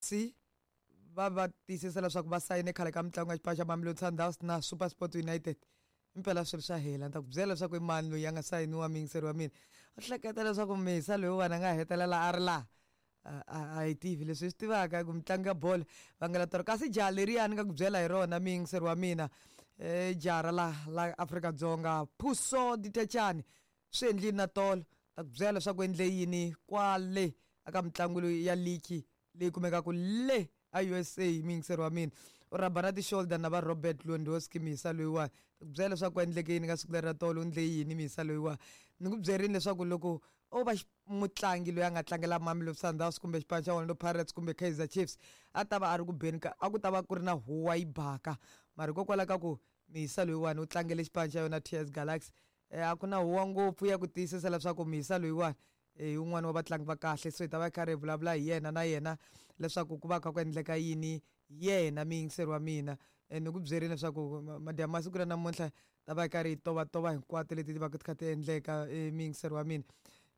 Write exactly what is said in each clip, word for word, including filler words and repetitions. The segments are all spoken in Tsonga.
C va va tiyisisa leswaku va sayine khale ka mitlangu ya xipano xa Mamelodi Sundowns na SuperSport United. Impela swilo swa hela, ni ta ku byela leswaku i mani loyi a nga sayiniwa, muyingiseri wa mina. U hleketa leswaku Misa loyiwani a nga hetelela a ri laha? A hi tivi. Leswi hi swi tivaka ku mitlangu ya bolo va nga la kasi jaha leriya ni nga ku byela hi rona, muyingiseri wa mina, um jaha ra la la Afrika-Dzonga Puso Dithejane swi endlile na tolo. Ta ku byela leswaku endle yini kwale aka mitlangu leyi ya ligi leyi kumekaka le a U S A, muyingiseri wa mina. U rhaba na ti-shoulder na va Robert Lewandowski, mihisa loyiwani. Ta ku byela leswaku ku endleke yini ka siku leri ra tolo, u endle yini mihisa loyiwani. Ni ku byerini leswaku loko o va mutlangi loyi a nga tlangela Mamelodi Sundowns kumbe xipano xa Orlando Pirates kumbe Kaizer Chiefs, a ta va a ri ku beni ka, a ku ta va ku ri na huwa yi baka. Mara hikokwalaho ka ku mihisa loyiwani u tlangele xipano xa yona T S Galaxy, a ku na huwa ngopfu ya ku tiyisisa leswaku mihisa loyiwani i wun'wani wa vatlangi va kahle. So hi ta va karhi hi vulavula hi yena na yena leswaku ku va kha ku endleka yini yena, muyingiseri wa mina. Ni ku byerini leswaku madyambu masiku ra namuntlha ta va hi karhi hi tovatova hinkwato leti ti va ti kha ti endleka, muyingiseri wa mina.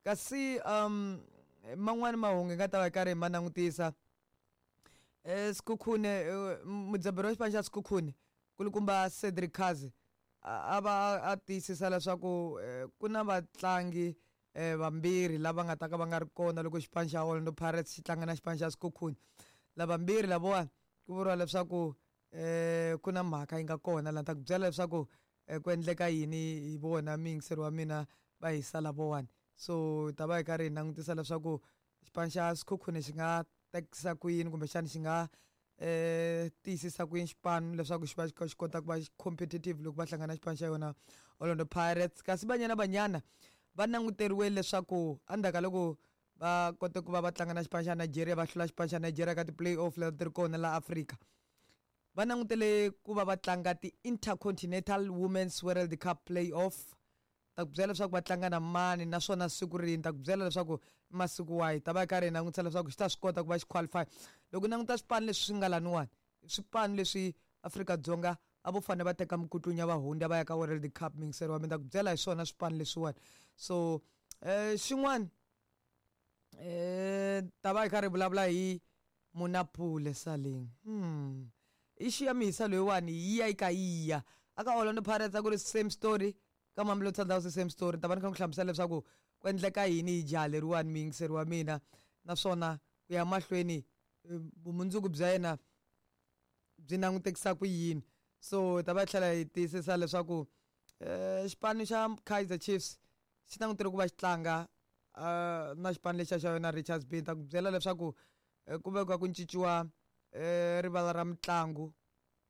Kasi um man'wani mahungu hi nga ta va hi karhi hi ma langutisa, Sekhukhune, mudzaberi wa xipano xa Sekhukhune kulukumba Cedric Kaze a va a tiyisisa leswaku ku na vatlangi vambirhi lava nga ta ka va nga ri kona loko xipano xa Orlando Pirates xi tlanga na xipano xa Sekhukhune. Lavambirhi lavawani ku vuriwa leswaku um ku na mhaka yi nga kona laha, ni ta ku byela leswaku ku endleka yini hi vona, muyingiseri wa mina, va hisa lavawani. So hi ta va hi karhi hi langutisa leswaku xipano xa Sekhukhune xi nga tekisa ku yini kumbexana xi nga um tiyisisa ku yini xipano leswaku xi va xi xi kota ku va competitive loko va hlangana na xipano xa yona Orlando Pirates. Kasi Banyana Banyana va languteriwe leswaku endzhaku ka loko va kote ku va va tlanga na xipano xa Nigeria, va hlula xipano xa Nigeria ka ti-play-off leti ti ri kona laha Afrika, va langutele ku va va tlanga ti-Intercontinental Women's World Cup play-off. Ta ku byela leswaku va tlanga na mani naswona siku rini, ta ku byela leswaku i masiku wahi. Ta va hi karhi hi langutisa leswaku xi ta swi kota ku va xi qualify. Loko languta swipano leswi swi nga laniwani, swipano leswi Afrika-Dzonga a vo fanele va teka mikutlunya va hundza va ya ka World Cup, muyingiseri wa mina, ta ku byela hi swona swipano leswiwani. So um xin'wana um ta va hi karhi hi vulavula hi Monnapule Saleng. Hmm issue ya mihisa loyiwani yi ya yi ka yi ya aka Orlando Pirates a ku ri same story, ka Mamelodi Sundowns same story. Ta va ni kha ni ku hlamusela leswaku ku endleka yini hi jaha leriwani, muyingiseri wa mina, naswona ku ya mahlweni vumundzuku bya yena byi langutekisa ku yini. So ta va tlhela hi tiyisisa leswaku um xipano xa Kaizer Chiefs xi langutele ku va xi tlanga um na xipano lexiya xa yona Richards Bay. Ta ku byela leswaku ku vekiwa ku cinciwa um rivala ra mitlangu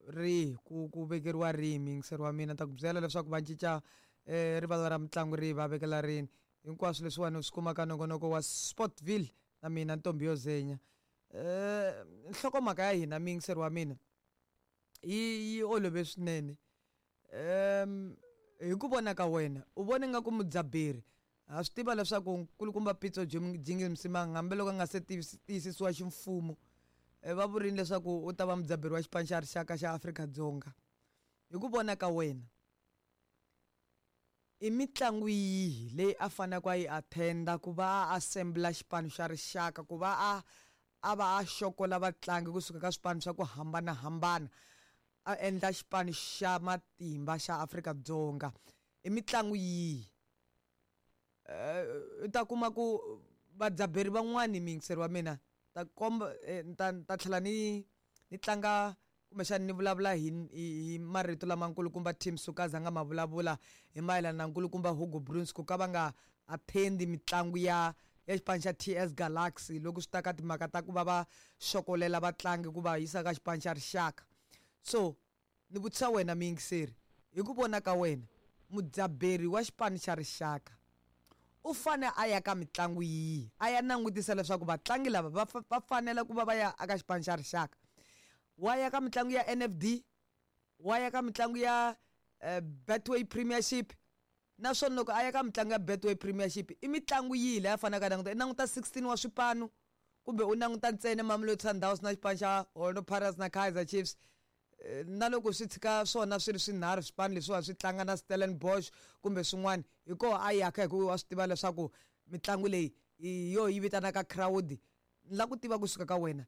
rihi, ku ku vekeriwa rihi, muyingiseri wa mina. Ta ku byela leswaku va cinca um rivala ra mitlangu rihi va vekela rini. Hinkwaswo leswiwani u swi kuma ka nongonoko wa Sportville na mina Ntombi yo Zenya. Um nhlokomhaka ya hina, muyingiseri wa mina, yi yi olove swinene. Um hi ku vona ka wena, u vona nga ku mudzaberi, ha swi tiva leswaku nkulukumba Pitso Jingles Msimang hambiloko a nga se tiyisisiwa ximfumo, va vurini leswaku u ta va mudzaberi wa xipano xa rixaka xa Afrika-Dzonga. Hi ku vona ka wena, i mitlangu yihi leyi a faneleke a yi attenda ku va a assembla xipano xa rixaka, ku va a a va a xokola vatlangi kusuka ka swipano swa ku hambanahambana, a endla xipano xa matimba xa Afrika-Dzonga? I mitlangu yihi? U ta kuma ku vadzaberi van'wani, muyingiseri wa mina, ta komba ta ta tlhela ni ni tlanga kumbexana ni vulavula hi hi marito lama nkulukumba Tim Sukazi a nga ma vulavula hi mayelana na nkulukumba Hugo Broos ku ka va nga attendi mitlangu ya ya xipano xa T S Galaxy loko swi ta ka timhaka ta ku va va xokolela vatlangi ku va yisa ka xipano xa rixaka. So ni vutisa wena muyingiseri, hi ku vona ka wena, mudzaberi wa xipano xa rixaka u fane a ya ka mitlangu yihi, a ya langutisa leswaku vatlangi lava va va fanele ku va va ya eka xipano xa rixaka? Wa ya ka mitlangu ya N F D, wa ya ka mitlangu ya Betway Premiership, naswona loko a ya ka mitlangu ya Betway Premiership i mitlangu yihi leyi a faneleke a languta? I languta sixteen wa swipano kumbe u languta ntsena Mamelodi Sundowns na xipano xa Orlando Pirates na Kaizer Chiefs? Na loko swi tshika swona swi ri swinharhu swipano leswiwa swi tlanga na Stellenbosch kumbe swin'wana, hi koho a yaka, hikuva wa swi tiva leswaku mitlangu leyi hi yo yi vitanaka crowd. Ni lava ku tiva kusuka ka wena,